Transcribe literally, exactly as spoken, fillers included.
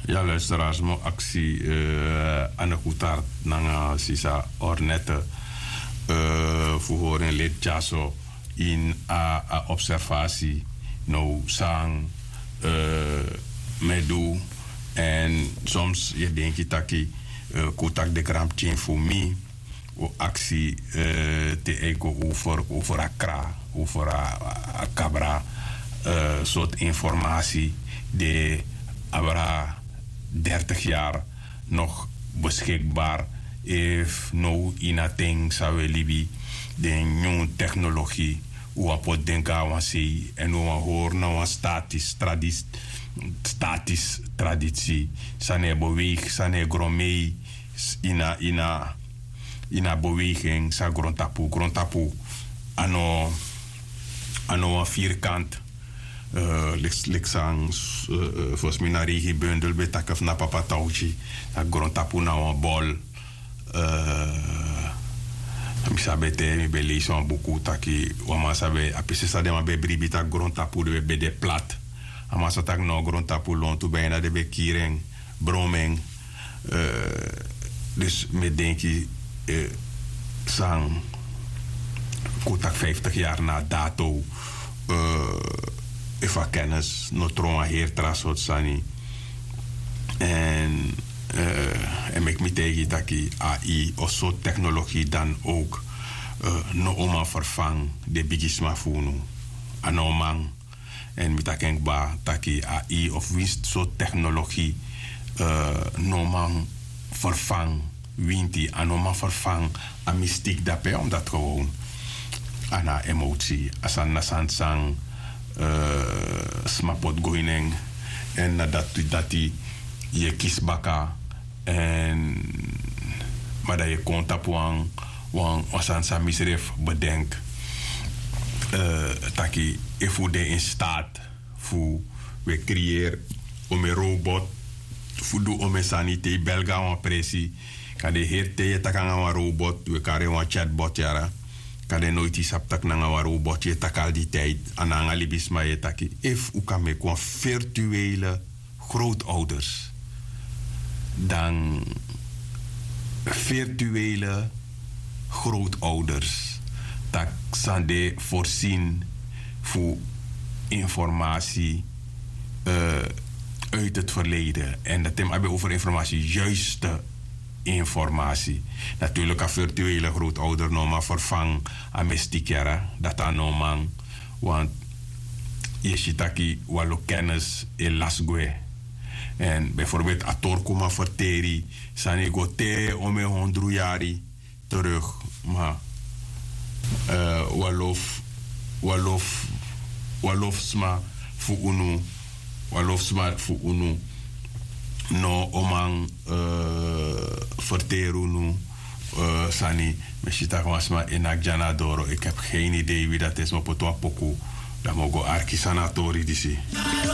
Ya luisteraars, mi o aksi, eh, Anne Goutard nanga sisa Ornette, eh, fu hori en leti dyaso ini a, a observasi. Now san, eh, mi e du, èn soms yu e denki taki, eh, kon un taki den granpikin fu mi, un o aksi, eh, te a e go over, over a kra, over a, a kabra, eh, sortu informasi di abra dertig yari nog beschikbaar. Efu now ini a ten san un e libi, den nyun teknologi, un wani poti den go na wan sei, èn un wani hori na wan statis tradisi, statis tradisi, san no e beweigi, san no e gron mei, ini a, ini a, ini a beweging san grontapu, grontapu a no, a no wan vierkant, eh, leki, leki san, eh, eh, fosi mi na Regenbundel ben taki fu na Papa Tauci, na grontapu na wan bol. Eh, mi sabi ete, mi ben leisi wan buku taki wan man sabi a pisi san den man ben bribi taki grontapu den ben de plat. A man sa taki no, grontapu lontu, bijna den ben kiri en, bron en. Eh, dus mi e denki, eh, san kon taki vijftig yari na a dato, eh, efu a kennis no tron wan heri tra sortu sani. Èn, eh, èn meki mi taigi taki A I of sortu teknologi dan ook, eh, no o man vervang den bigisma fu unu. A no man. Èn mi taki en kba taki A I of winsi sortu teknologi, eh, no man vervang winti, a no man vervang a mystiek dape, omdat gewoon a na a emotie, a sani na sani san, eh, sma poti go ini en. Èn na dati, dati yu e kisi baka. Èn, ma dan yu e kon tapu wan, wan, wan sani san misrefi bedenki, eh, taki efu un de in staat fu un e creëer omeni robot fu du omeni sani, te yu bel go na wan presi, kande heri ten yu e taki nanga wan robot, un e kari en wan chatbot yara. Kande noiti yu sabi taki nanga wan robot yu e taki al di tijd, a na nanga libisma yu e taki. Efu un kan meki wan virtuele grootouders, dan virtuele grootouders, taki san de voorzien fu informasi, eh, uit het verleden. En dat hem abi over informasi, juiste informasi. Natuurlijk a virtuele grootouder no man vervang a mystiek yara, dat a no man. Want yu e si taki wan lo kennis e lasi gwe. En bijvoorbeeld a torku man ferteri sani go te omeni hondru yari terug, ma, eh, wan lo f-, wan lo f-, wan lo fu sma fu unu, wan lo fu sma fu unu no o man, eh, ferteri unu, eh, sani. Mi e si taki wan sma e naki dya na doro, ik heb geen idee wie dat is, mi o poti wan poku, dan mi o go arki san na a tori disi.